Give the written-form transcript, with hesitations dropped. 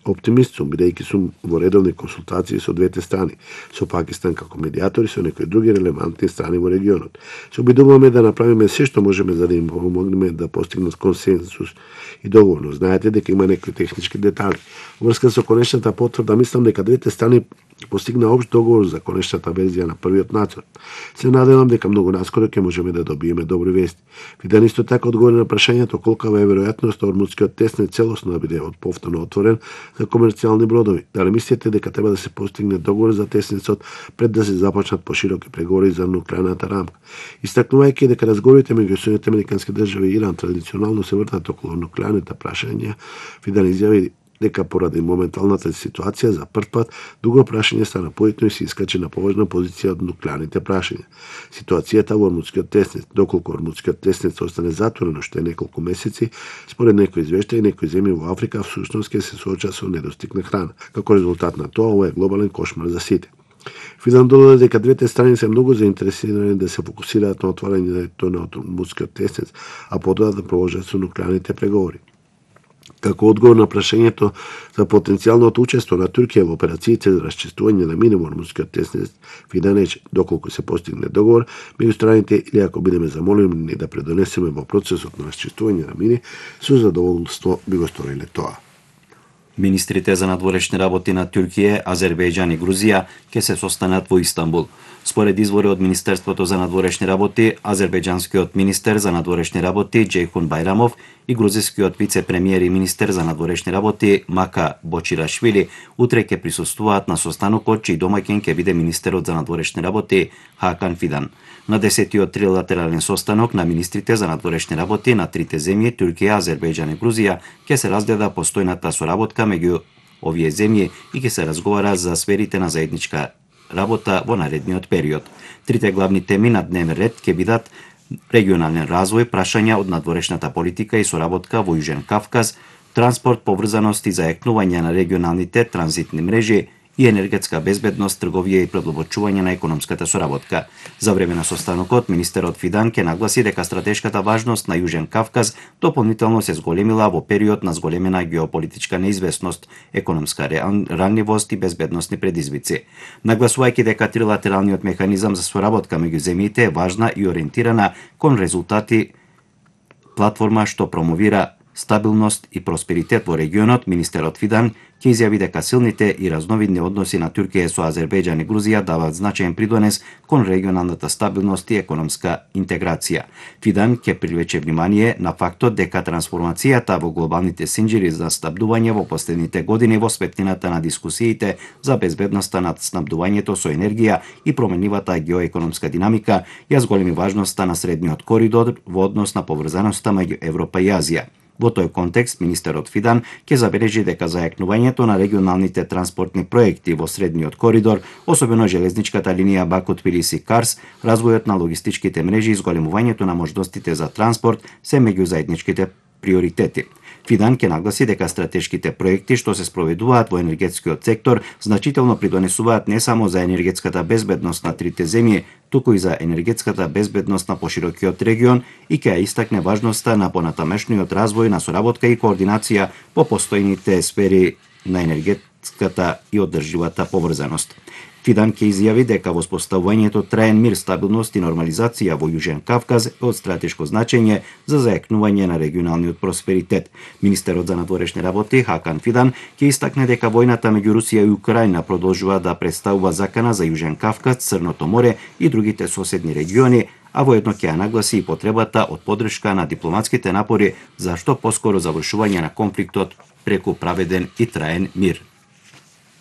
Оптимист сум, бидејќи сум во редовни консултации со двете страни, со Пакистан како медиатор и со некои други релевантни страни во регионот. Се обидуваме да направиме се што можеме за да им помогнеме да постигнат консенсус и договор. Знаете дека има некои технички детали. Врска со конечната потврда, мислам дека двете страни постигна општ договор за конечната верзија на првиот нацрт. Се надевам дека многу наскоро ќе можеме да добиеме добри вести. Фидан исто така одговори на прашањето колкава е веројатноста Ормудскиот теснет целосно да биде повторно отворен за комерцијални бродови. Дали мислите дека треба да се постигне договор за теснецот пред да се започнат пошироки преговори за нуклеарната рамка? Истакнувајќи дека разговорите меѓу Соединетите американски држави и Иран традиционално се вртат околу нуклеарните прашања, Фидан изјави дека поради моменталната ситуација за прв пат друго прашање стана поитно и се искачи на поважна позиција од нуклеарните прашања. Ситуацијата во Ормудскиот теснет, доколку Ормудскиот теснет остане затворен уште неколку месеци, според некои извештаи, некои земји во Африка всушност ќе се соочат со недостиг на храна. Како резултат на тоа, ова е глобален кошмар за сите. Фидан додаде дека двете страни се многу заинтересирани да се фокусираат на отварањето на Ормудскиот теснет, а потоа да продолжат со нуклеарните преговори. Како одговор на прашањето за потенцијалното учество на Туркија во операциите за расчистување на мини во Ормудскиот теснет, Фидан рече, доколку се постигне договор меѓу страните или ако бидеме замолени да предонесеме во процесот на расчистување на мини, со задоволство би го сториле тоа. Министрите за надворешни работи на Туркија, Азербејџан и Грузија ќе се состанат во Истанбул. Според извори од Министерството за надворешни работи, азербејџанскиот министер за надворешни работи Џейхун Байрамов и грузискиот вице-премиер и министер за надворешни работи Мака Бочирашвили утре ќе присуствуваат на состанокот чиј домаќин ќе биде министерот за надворешни работи Хакан Фидан. На 10-тиот трилатерален состанок на министрите за надворешни работи на трите земји Туркија, Азербејџан и Грузија ќе се разгледа постојната соработка меѓу овие земји и ќе се разговара за сферите на заедничка работа во наредниот период. Трите главни теми на дневен ред ќе бидат регионален развој, прашања од надворешната политика и соработка во Јужен Кавказ, транспорт, поврзаност и заекнување на регионалните транзитни мрежи и енергетска безбедност, трговија и продолбочување на економската соработка. За време на состанокот, министерот Фидан ќе нагласи дека стратешката важност на Јужен Кавказ дополнително се зголемила во период на зголемена геополитичка неизвестност, економска ранливост и безбедносни предизвици. Нагласувајќи дека трилатералниот механизам за соработка меѓу земјите е важна и ориентирана кон резултати платформа што промовира стабилност и просперитет во регионот, министерот Фидан ќе изјави дека силните и разновидни односи на Туркија со Азербејџан и Грузија даваат значаен придонес кон регионалната стабилност и економска интеграција. Фидан ќе привлече внимание на фактот дека трансформацијата во глобалните синџири за снабдување во последните години во светлината на дискусиите за безбедноста на снабдувањето со енергија и променливата геоекономска динамика ја зголеми важноста на средниот коридор во однос на поврзаноста меѓу Европа и Азија. Во тој контекст, министерот Фидан ќе забележи дека зајакнувањето на регионалните транспортни проекти во средниот коридор, особено железничката линија Баку-Тбилиси-Карс, развојот на логистичките мрежи и зголемувањето на можностите за транспорт се меѓу заедничките приоритети. Фидан ќе нагласи дека стратешките проекти што се спроведуваат во енергетскиот сектор значително придонесуваат не само за енергетската безбедност на трите земји, туку и за енергетската безбедност на поширокиот регион и ќе ја истакне важноста на понатамешниот развој на соработка и координација по постојните сфери на енергетската и одржливата поврзаност. Фидан ќе изјави дека воспоставувањето траен мир, стабилност и нормализација во Јужен Кавказ е од стратешко значење за зајакнување на регионалниот просперитет. Министерот за надворешни работи Хакан Фидан ќе истакне дека војната меѓу Русија и Украина продолжува да представува закана за Јужен Кавказ, Црното море и другите соседни региони, а воедно ќе ја нагласи и потребата од поддршка на дипломатските напори за што поскоро завршување на конфликтот преку праведен и траен мир.